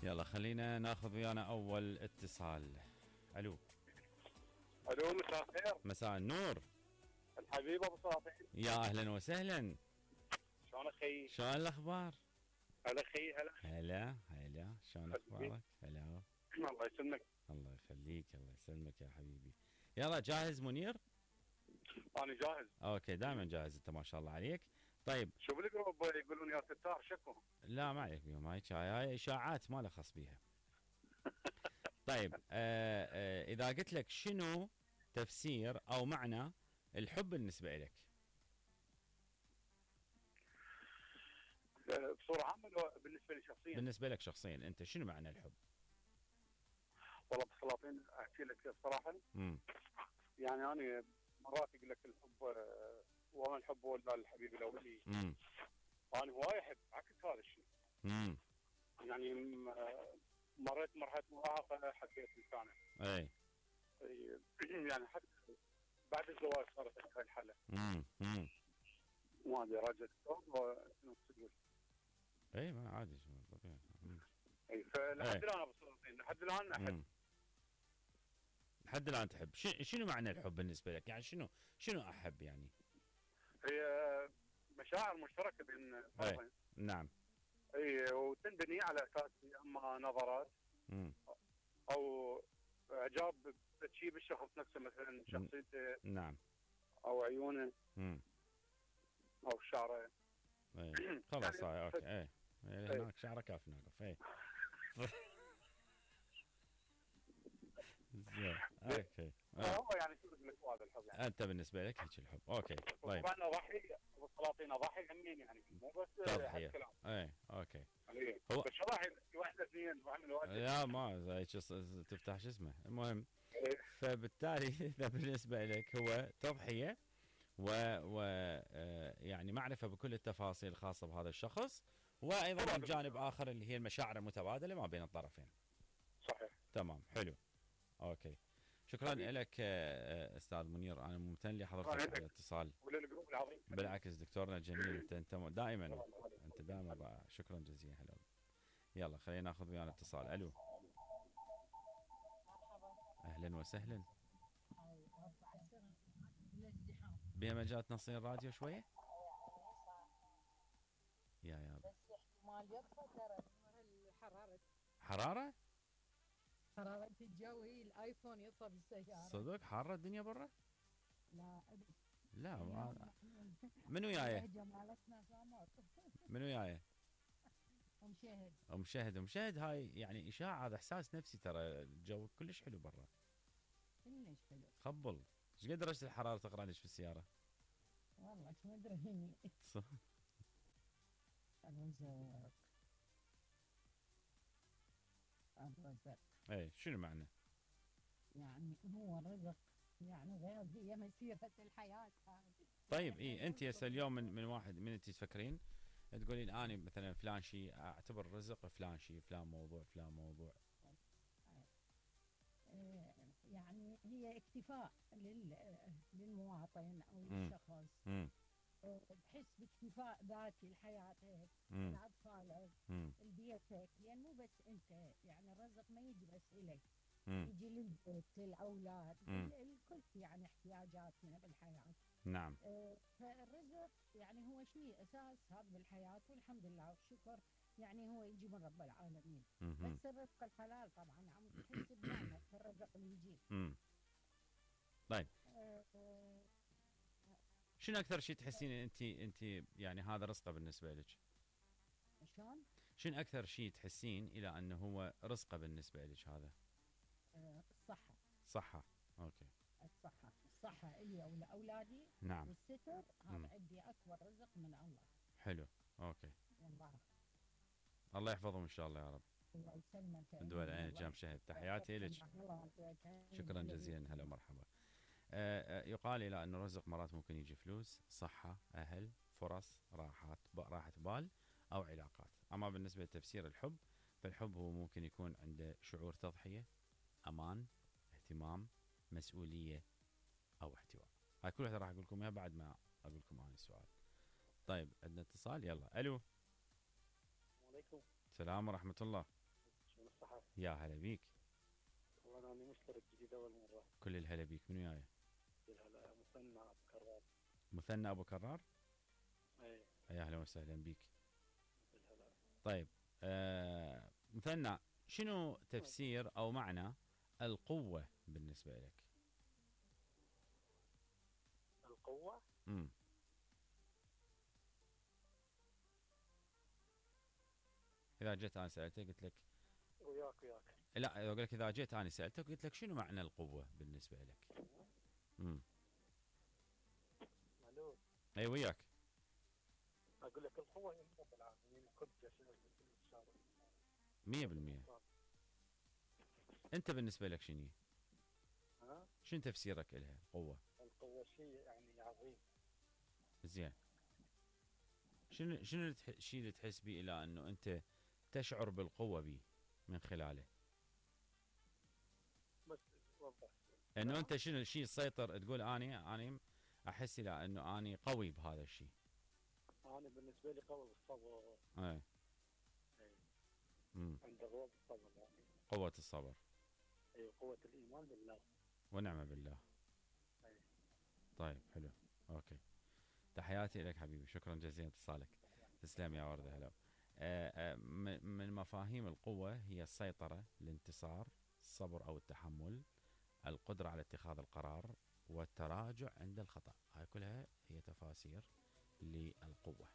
يلا خلينا ناخذ ويانا اول اتصال. الو. الو، مساء الخير. مساء النور. الحبيب ابو صافي. يا اهلا وسهلا. شلونك خيي؟ شلون الاخبار؟ هلا خيي، هلا. هلا شلون اخبارك؟ هلا. الله يسلمك. الله يخليك، الله يسلمك يا حبيبي. يلا جاهز منير؟ انا جاهز. اوكي، دائما جاهز انت ما شاء الله عليك. طيب شوف الجروب يقولون يا ستار شكو. لا ما عليك بيهم، هاي اشاعات ما له خص بيها. طيب اذا قلت لك شنو تفسير او معنى الحب بالنسبه لك؟ بصوره عامه بالنسبه لي شخصيا؟ بالنسبه لك شخصيا انت شنو معنى الحب؟ والله بسلاطين احكي لك صراحه. يعني انا مرات اقول لك الحب وما الحب ولا الحبيب الاولي. انا هواي احب عكس هذا الشيء. يعني مريت مرحله مراهقه، حبيت انسانه. اي يعني حتى بعد الزواج صارت عندي هاي الحاله. ما ادري راجل شنو تقول؟ اي ما عادي طبيعي. اي فلحد الان ابو سلاطين، لحد الان احب. لحد الان تحب. شنو معنى الحب بالنسبه لك؟ يعني شنو احب يعني؟ هي مشاعر مشتركه بين طرفين. نعم. اي وتنبني على اساس اما نظرات او اعجاب بشيء بالشخص نفسه، مثلا شخصيته. نعم. او عيونه. او شعره. خلاص يعني اوكي. هناك شعره كافي ناقف. زين اوكي. هو يعني شو اقول لك هذا الحب يعني. انت بالنسبه لك هيك الحب. اوكي طيب. طبعا اضحي ابو سلاطين، اضحي همين يعني، مو بس تضحيه. اوكي. هو بس اضحي واحده اثنين واحد من الواحد. لا ما تفتح شو اسمه. المهم فبالتالي اذا بالنسبه لك هو تضحيه و يعني معرفه بكل التفاصيل الخاصه بهذا الشخص، وايضا من جانب اخر اللي هي المشاعر المتبادله ما بين الطرفين. صحيح. تمام حلو. اوكي شكرا لك استاذ منير، انا ممتن لحضرتك على الاتصال. وللجروب العظيم. بالعكس دكتورنا الجميل، انت دائما شكرا جزيلا. هلا. يلا خلينا ناخذ ويانا اتصال. الو. اهلا وسهلا. بها مجال تنصين الراديو شويه؟ يا بس احتمال يطفى ترى حراره حرارة الجو. هي الايفون يطفى بالسيارة. صدق حارة الدنيا برا؟ لا منو جايه؟ منو جايه؟ مشاهد هاي يعني اشاعة، هذا احساس نفسي ترى. الجو كلش حلو برا. كلش حلو. خبل. ايش قد درجة الحرارة تقرا ليش بالسيارة؟ والله ما ادري. الرزق. اي شنو معنى؟ يعني هو رزق، يعني غير هي مسيرة الحياة هذه. طيب انت هسه اليوم من واحد من انت تفكرين تقولين اني مثلا فلان شيء اعتبر رزق، فلان شيء، فلان موضوع. يعني هي اكتفاء للمواطن او للشخص. بحس باكتفاء ذاتي لحياتك، لاطفالك، لبيتك، لان مو بس انت، يعني الرزق ما يجي بس الك، يجي للبيت، للاولاد، الكل يعني احتياجاتنا بالحياه. نعم. فالرزق يعني هو شيء اساس هذا بالحياه، والحمد لله والشكر يعني هو يجي من رب العالمين. بس الرزق الحلال طبعا عم تحس بنعمه الرزق اللي يجي. طيب شنو اكثر شيء تحسين انت يعني هذا رزقه بالنسبه لك؟ شلون؟ شنو اكثر شيء تحسين الى انه هو رزقه بالنسبه لك هذا؟ الصحه. اوكي. الصحه الي ولاولادي. نعم. والستر هذا عندي اكبر رزق من الله. حلو. اوكي. والله الله يحفظهم ان شاء الله يا رب. الله يسلمك. الدول عين جام شهد، تحياتي لك. شكرا جزيلا. هلا مرحبا. يقال الى انه الرزق مرات ممكن يجي فلوس، صحه، اهل، فرص، راحه بال او علاقات. اما بالنسبه لتفسير الحب، فالحب هو ممكن يكون عنده شعور تضحيه، امان، اهتمام، مسؤوليه او احتواء. هاي كل واحده راح اقول لكم اياها بعد ما اقول لكم انا السؤال. طيب عندنا اتصال. يلا. الو. عليكم السلام ورحمه الله. من الصحة. يا هلا بيك. والله أنا مشترك جديد أول مرة. كل الهلا بيك. منو وياي؟ هلا مثنى أبو كرار. مثنى أبو كرار؟ إيه. يا أهلا وسهلا بيك. بالهلا. طيب مثنى، شنو تفسير أو معنى القوة بالنسبة لك؟ القوة؟ إذا جيت أنا سألتك قلت لك وياك. لا، أقول لك إذا جيت أنا سألتك قلت لك شنو معنى القوة بالنسبة لك؟ الو. أي وياك. أقول لك القوة هي رب العالمين، القدس 100%. أنت بالنسبة لك شنو؟ شنو تفسيرك لها القوة؟ القوة شيء يعني عظيم. زين. شنو الشيء اللي تحس به الى انه انت تشعر بالقوة به من خلاله؟ بس وضح. انه انت شنو الشيء تسيطر تقول اني احس الى انه اني قوي بهذا الشيء؟ انا بالنسبة لي قوي بالصبر. ايه. عند قوة بالصبر يعني. قوة الصبر. اي قوة الايمان بالله. ونعم بالله. أي. طيب حلو. اوكي. تحياتي لك حبيبي، شكرا جزيلا اتصالك. تسلم يا وردة. هلا. من مفاهيم القوة هي السيطرة، الانتصار، الصبر أو التحمل، القدرة على اتخاذ القرار، والتراجع عند الخطأ. هاي كلها هي تفاسير للقوة.